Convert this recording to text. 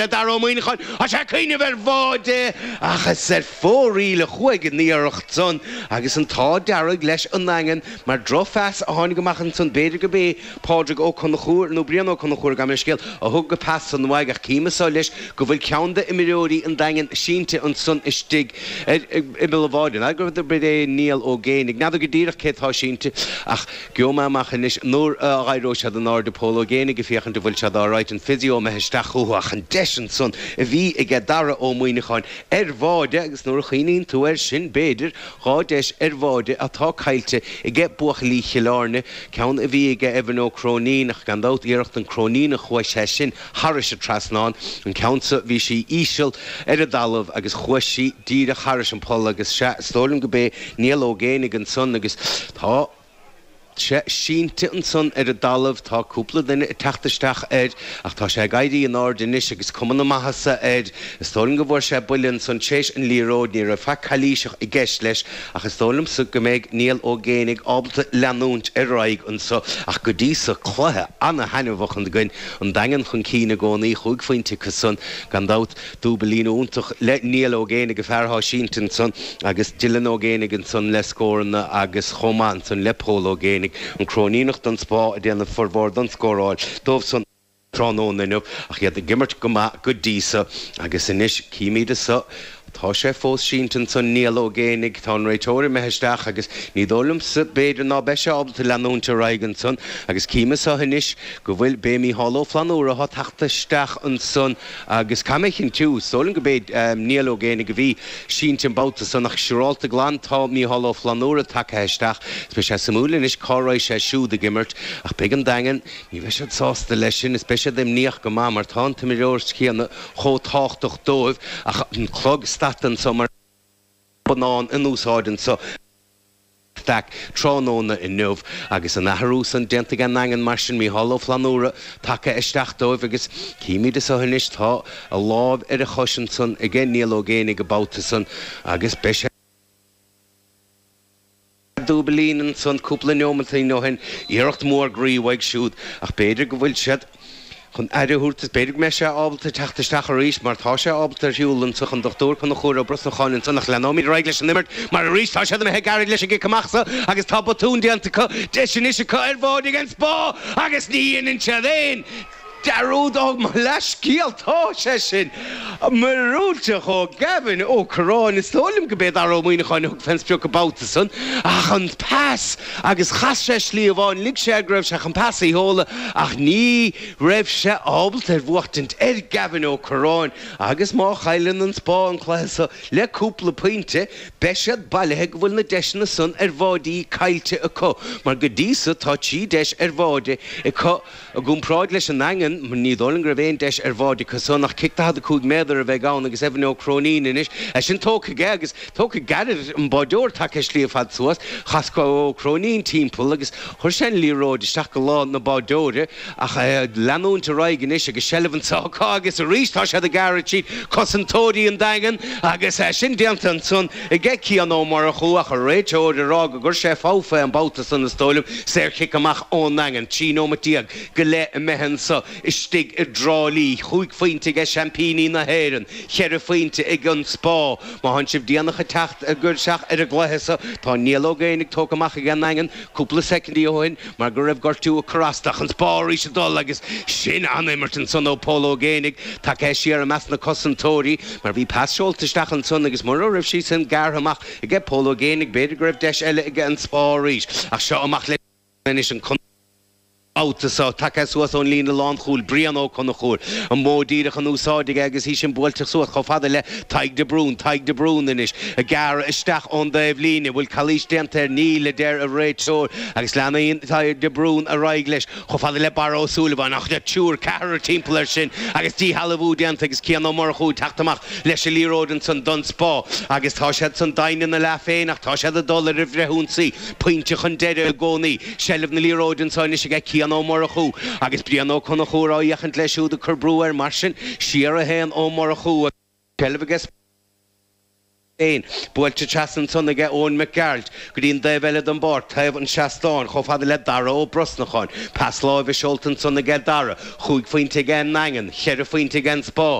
le Dara Ó Muíneacháin. Tá sé ag cuimhneamh ar bháide ach is ar fóraoil a chuaigh an iarracht san agus an t-ádh dearg leis an nDaingean mar drochphas a tháinig amach ansan. B'fhéidir go b'é Pádraig Ó Conchúir nó Brian Ó Conchúir, gabh mo leithscéal, a thug an pas san uaidh ach cím anso leis go bhfuil ceann d'imreoirí an Daingin sínte ansan istigh ar imeall an bháide. N'fheadar gurb é Niall Ó Géibheannaigh. N'fheadar go díreach cé atá sínte ach gheobhaidh mé amach anois nuair a éireoidh siad in airde. Pól Ó Géibheannaigh ag féachaint an bhfuil siad alright, an physio imithe isteach chucu ach an deis ansan a bhí aige Dara Ó Muíneacháin ar bháide agus nuair a chuimhníonn tú air sin b'fhéidir 2 deis ar bháide atá caillte aige buachaillí Chill Airne, ceann a bhí aige Evan Ó Cróinín ach gan dabht iarracht an Cróiníneach chuaigh sé sin thairis an trasnán, an ceann so bhí sí íseal ar an dtalamh agus chuaigh sí díreach thairis an poll agus sea is dóigh liom go b'é Niall Ó Géibheannaigh ansan agus tá sé sínte ansan ar an dtalamh, tá cúpla duine ag teacht isteach air ach tá sé ag éirí in airde anois agus cuma na maitheasa air. Is dóigh liom go bhfuair sé buille ansan tréis an liathróid, ní raibh faic calaoiseach i gceist leis ach is dóigh liomsa go mbeidh Niall Ó Géibheannaigh ábalta leanúint ar aghaidh anso ach go dtí so cluiche ana-thaitneamhach againn, an Daingean chun cinn i gcónaí, chúig phointe acu san gan dabht. Dúbailín iontach le Niall Ó Géibheannaigh, an fear atá sínte ansan, agus Dylan Ó Géibheannaigh ansan le scóranna agus chomh maith ansan le Pól Ó Géibheannaigh, an Cróiníneach don Spá ag déanamh formhór don scóráil dóibh san tráthnóna inniu ach iad ag imirt go maith go dtí so agus anois címid anso tá sé fós sínte ansan Niall Ó Géibheannaigh, tá an réiteoir imithe isteach agus ní dóigh liomsa b'fhéidir ná beidh sé ábalta leanúint ar aghaidh ansan agus cím anso anois go bhfuil, b'é Mícheál Ó Flannúra atá tagtha isteach ansan. Agus caithfidh mé a chinntiú, is dóigh liom go b'é Niall Ó Géibheannaigh a bhí sínte an babhta san ach siúrálta glan tá Mícheál Ó Flannúra tagtha isteach. Is beidh sé suimiúil anois cá raghaidh sé siúd ag imirt ach beidh an Daingean, ní bheidh siad sásta leis sin is beidh siad imníoch go maith mar tá an t-imreoir céanna chomh tábhachtach dóibh ach an clog stadta anso mar bonnán in úsáid anso. Stack tráthnóna inniu agus an athrú san déanta ag an nDaingean mar sin, Mícheál Ó Flannúra tagtha isteach dóibh agus címid anso anois tá a lámh ar a chois ansan aige Niall Ó Géibheannaigh an babhta san agus beidh sé dúbailín ansan cúpla neomatín ó shin, iarracht mhór groí uaidh siúd ach b'fhéidir go bhfuil siad. chun aire a thabhairt is b'fhéidir go mbeidh sé ábalta teacht isteach arís mar tá sé ábalta ar shiúl anso an Dochtúir Conchúr Ó Brosnacháin ansan ach leanóimid ar aghaidh leis an imirt mar arís tá siad imithe gairid leis an gcic amach so agus tá botún déanta acu, deis anois acu ar bháide ag an Spá agus ní dhéanann siad aon dearúd ó mo leathscéal tá sé sin míorúilteach ó Gavin Ó Curráin is dóigh liom go b'é Dara Ó Muíneacháin a thug fén sprioc an babhta san ach an pas Agus chas sé slí amháin, lig sé air go raibh sé chun pas a sheoladh ach ní raibh sé ábalta ar bhuachtaint ar Gavin Ó Curráin agus má chailleann an Spá an cluiche so le cúpla pointe beidh siad bailithe go bhfuil na deiseanna san ar bháidí caillte acu mar go dtí so tá 3 deis ar bháide acu I gcomparáid leis an nDaingean, ní dóigh liom go raibh aon deis ar bháide acu san ach cic 45 méadar a bheidh ann agus Evan Ó Cróinín anois, é sin tógtha aige agus tógtha gairid, an báideoir tagtha slí ar fad suas, chas Ó Cróinín timpeall agus chuir sé an liathróid isteach go lámh na báideoire ach leanúint ar aghaidh anois agus seilbh anso acu agus arís tá siad ag gearradh tríd cosantóirí an Daingin agus é sin déanta ansan aige Cian Ó Murchú ach an réiteoir ag rá go gcuir sé fogha fé an babhta san is dóigh liom. Saorchic amach ón nDaingean. 13 nóimeat go leith imithe anso istigh i dTrá Lí. Chúig phointe aige seaimpíní na hÉireann. Cheithre phointe ag an Spá. Má thánn sibh déanach ag teacht isteach ar an gcluiche so, tá Niall Ó Géibheannaigh tógtha amach ag an nDaingean cúpla soicindí ó shin mar go raibh gortú ag cur as dó. Ach an Spá arís ag dul agus sin an-imirt ansan ó Pól Ó Géibheannaigh. Tagtha siar i measc na cosantóirí mar bhí pas seolta isteach ansan agus mura raibh sí sin gearrtha amach aige Pól Ó Géibheannaigh, b'fhéidir go raibh deis eile aige an Spá arís ach seo amach leis anois an babhta seo. Tagtha suas ón líne lánchúil, Brian Ó Conchúir, an modh díreach in úsáid aige agus í sin buailte suas chomh fada le Tadhg de Brún. Tadhg de Brún anois ag gearradh isteach ón dtaobh líne. Bhfuil calaois déanta air? Níl, a deir an réiteoir agus leanann Tadhg de Brún ar aghaidh leis chomh fada le Barra Ó Súilleabháin ach triúr, ceathrar timpeall air sin agus díshealbhú déanta agus Cian Ó Murchú ag teacht amach leis an liathróid ansan don Spá agus tá siad san doimhne ina leath féin ach tá siad ag dul ar an bhfrithionsaí. Pointe chun deiridh i gcónaí. Seilbh na liathróide anso anois aige Cian Ó Murchú agus Brian Ó Conchúir á fhéachaint leis siúd ag cur brú air mar sin siar a théann Ó Murchú. Seilbh aige féin. Buailte trasna ansan aige Eoin Mac Gearailt go dtí an dtaobh eile den bpáirc, taobh an tseastáin, chomh fada le Dara Ó Brosnacháin. Pas láimhe seolta ansan aige Dara. Chúig phointe aige an nDaingean, cheithre phointe aige an Spá.